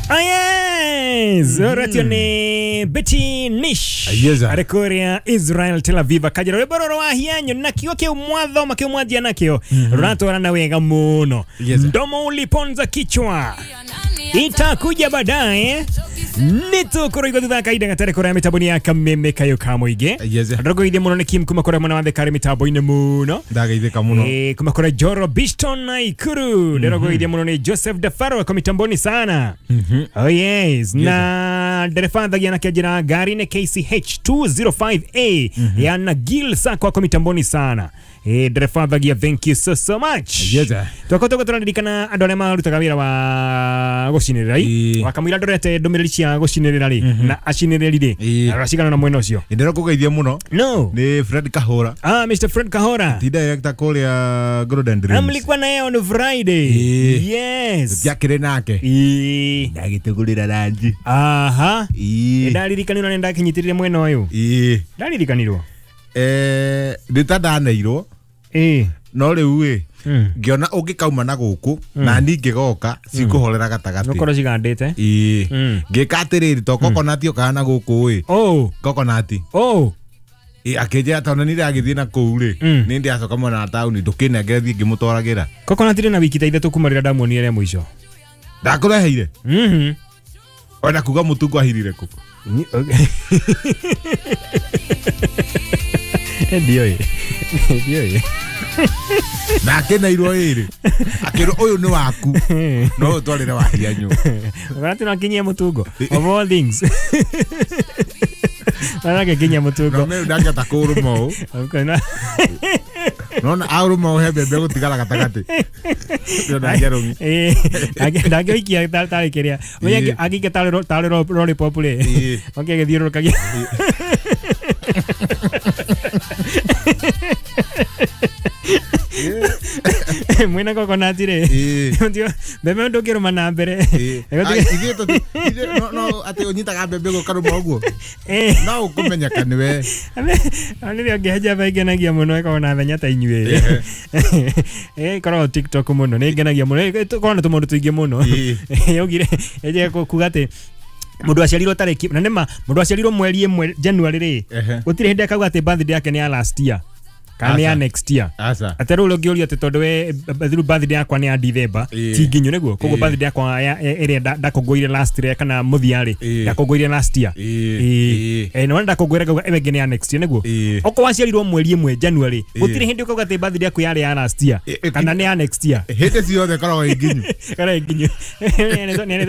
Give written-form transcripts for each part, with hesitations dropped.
Yes, mm. Ni Betty Nish. Yes, sir. Arĩ kũrĩa Israel Tel Aviv akajĩra rwĩmbo rũrũ wa hianyu nakĩo kĩu mwathoma kĩu mwanjia nakĩo rũratwarana wega mũno. Yes, sir. Mdomo uliponza kichwa itakuja baadaye nĩtũkũrũigwo thutha wa kahinda gatarĩ kũraya mĩtambo-inĩ ya kameme kayũ ka mũingĩ. Yes, sir. Ndũrũgũithie mũno nĩ Kim kuma kũrĩa mwena wa Thika mĩtambo-inĩ mũno. Ndageithĩka mũno. Kuma kũrĩa Joro Bishton Naikuru. Ndĩrũgũithie mũno nĩ Joseph Dafaro ako mitamboni sana. Oh yes. Na ndereba thagia na kĩanjĩra ngari nĩ KCH 205A ya Nagil Sacco ako mitamboni sana. Ndereba thagia, thank you so so much. Yes, sir. Twakoretwo tũraririkana andũ arĩa marutaga wĩra wa gũcinĩrĩra Ĩĩ. wakamũira ndorete ndũmĩrĩri cia gũcinĩrĩra rĩ na acinĩrĩri rĩ Ĩĩ. aracigana na mwena ũcio Ndĩra kũgeithia mũno no nĩ Fred Kahora. Ah, Mr. Fred Kahora. Ti director kũrĩa Golden Dreams. Mlikuwa naye on Friday. Ĩĩ. Yes. Tiakĩrĩ nake. Ĩĩ. Ndagĩtũgũrĩra ranji. Aha. Ĩĩ. Ndaririkanirwo nĩ ndakinyitĩrire mwena ũyũ. Ĩĩ. Ndaririkanirwo. Nĩ ta ndaneirwo Ĩĩ. no rĩu ĩ Mm. ngĩona ũngĩkauma na gũkũ na niĩ ngĩgoka cikũhorera gatagatĩ. Nũkorwo cigandĩte. Ĩĩ. Mm. Ngĩka atĩrĩrĩ to kokonati ũkaga na gũkũ ĩ Oh. kokonati. Oh. Ĩ, akĩnjĩra tondũ nĩ ndagĩthiĩ na kũu rĩ nĩ ndĩacoka mwena wa taũni ndũkĩnengere thiĩ ngĩmũtwaragĩra. Coconut rĩ na wiki ta ithatũ kuma rĩrĩa ndamuonire rĩa mũico. Ndakũreheire Mhm. ona kuga mũtungo ahirire kũ. Ndiũĩ. Ndiũĩ. Na akĩneirwo ĩrĩ akĩrwo ũyũ nĩ waku no ũtwarĩre wahianyu. Coconut no akinyie mũtungo. Of all things. Manake kinyia mũtungo. No mĩu ndangĩhota kũũrũma ũũ. Nona aũrũma ũũ he mbembe gũtigara gatagatĩ. Ndĩrona njerũmi. Ndangĩikia tarĩ kĩrĩa Ĩĩ. angĩikia tarĩ lollipop rĩ Ĩĩ. oke agĩthiũrũrũkagia. Mwĩna coconut rĩ Ĩĩ. mbembe ndũngĩrũma na mbere. Ĩĩ. Ai, ithuĩ no atĩ ũnyitaga mbembe ũkarũma ũguo no ũkũmenyeka nĩwe. Nĩrĩo ngĩhenja ingenagia mũno ĩkoragwo na thenya ta inyuĩ. Ĩkoragwo TikTok mũno nĩ ingenagia mũno ĩkoragwo na tũmaũndũ tũingĩ mũno. Ĩĩ. Yaugire ĩnjĩke kuga atĩ mũndũ aciarirwo tarĩki na nĩma mũndũ aciarirwo mweri ĩmwe January rĩ Ehe. gũtirĩ hĩndĩ akauga atĩ birthday yake nĩ ya last year kana nĩ ya Aca. next year. Aca. Atĩ rĩu ũngĩũrio atĩ tondũ we rĩu birthday yakwa nĩ ya December Ĩĩ. ti nginyu nĩguo koguo Ĩĩ. birthday yakwa ĩrĩa ndakũngũĩire last year kana mũthia rĩ Ĩĩ. ndakũngũĩire last year. Ĩĩ. Ĩĩ. Na ndakũngũĩra ngauga ĩyo ĩngĩ nĩ ya next year nĩguo Ĩĩ. okorwo waciarirwo mweri ĩmwe January Ĩĩ. gũtirĩ hĩndĩ ũkauga atĩ birthday yaku yarĩ ya last year Ĩĩ, kana nĩ ya next year Hĩndĩ ciothe ĩkoragwo ĩ nginyu. kana ĩ nginyu.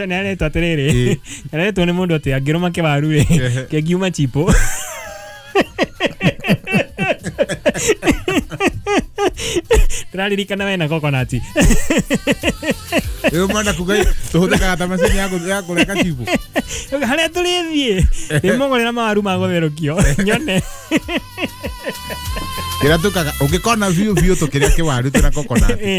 Nĩaretwo atĩrĩrĩ Ĩĩ. nĩaretwo nĩ mũndũ atĩ angĩrũma kĩwaru rĩ Ehe. kĩngiuma chipo. Ndĩraririkana we na coconut. Rĩu mwenda kuga tũhũthĩkaga ta macini ya kũreka chibu. Harĩa tũrĩthiĩ ndĩmũgũrĩra mawaru ma gũtherũkio nyone. Kĩrĩa tũkaga ũngĩkona biũ biũ tũkĩrĩa kĩwaru twĩna coconut. Ĩĩ.